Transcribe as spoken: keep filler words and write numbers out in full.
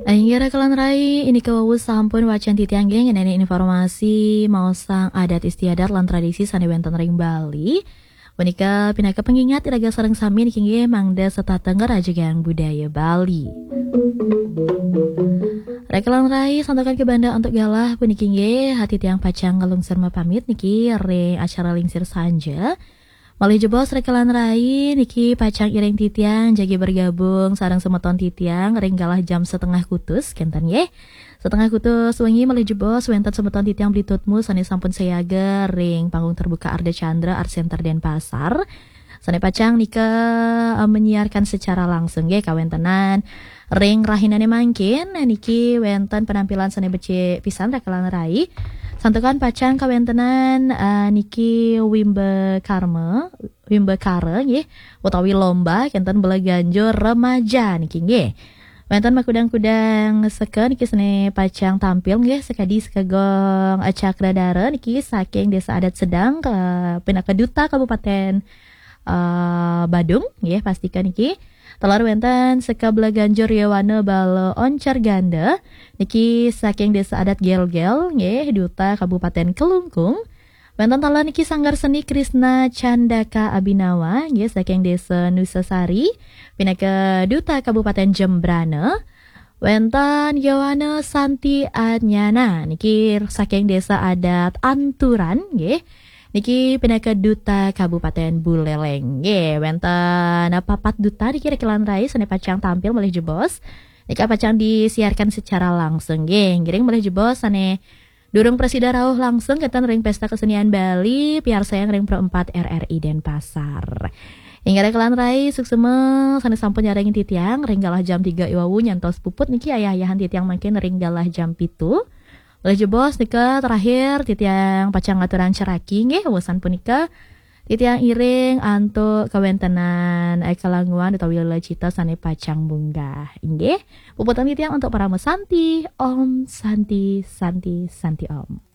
Inggih raka lan rai, inika wau sampun wacan titiang nggih ngenani informasi maosang adat istiadat lan tradisi sane wenten ring Bali. Punika pinaka pengingat iraga sareng sami niki nggih mangda setata ngrajegang budaya Bali. Raka lan rai, santukan kabanda antuk galah puniki nggih, titiang pacang nglungsur mapamit niki ring acara Lingsir Sanja. Malih jebos raka lan rai, niki pacang iring titiang jagi bergabung sareng semeton titiang ring galah jam setengah kutus, kenten nggih. Setengah kutus wengi malih jebos wenten semeton titiang Bli Tutmu sane sampun siaga ring panggung terbuka Ardha Candra Art Center Denpasar. Sane pacang nika, eh, menyiarkan secara langsung nggih kawentenan ring rahinane mangkin niki wenten penampilan sane becik pisan raka lan rai. Santukan pacang kawentenan, eh, niki Wimba Karma, Wimba Kara nggih, utawi lomba kenten bela ganjur remaja niki nggih. Wenten makudang-kudang seka niki sane pacang tampil nggih, sekadi Seka Gong, eh, Cakradara niki saking Desa Adat Sedang, ke, pinaka Duta Kabupaten, eh, Badung nggih, pastika niki. Taler wenten Seka Bela Ganjur Yowana Bala Oncar Ganda niki saking Desa Adat Gelgel nggih, Duta Kabupaten Kelungkung. Wenten taler niki Sanggar Seni Krisna Candaka Abinawa nggih saking Desa Nusasari, pinaka Duta Kabupaten Jembrana. Wenten Yowana Santi Adnyana niki saking Desa Adat Anturan nggih. Niki pinaka Duta Kabupaten Buleleng nggih. Wenten papat duta niki raka lan rai sane pacang tampil malih jebos. Nika pacang disiarkan secara langsung nggih. Ngiring malih jebos sane durung prasida rauh langsung kenten ring Pesta Kesenian Bali, piarsayang ring Pro empat R R I Denpasar. Inggih raka lan rai, suksma sane sampun nyarengin titiang ring galah jam tiga i wau nyantos puput niki ayah-ayahan titiang mangkin ring galah jam pitu. Malih jebos nika terakhir titiang pacang ngaturang ceraki nggih, wusan punika titiang iring antuk kawentenan, eh, kalanguan utawi lecita sane pacang munggah. Inggih, puputang titiang antuk Parama Santi, Om Santi, Santi, Santi Om.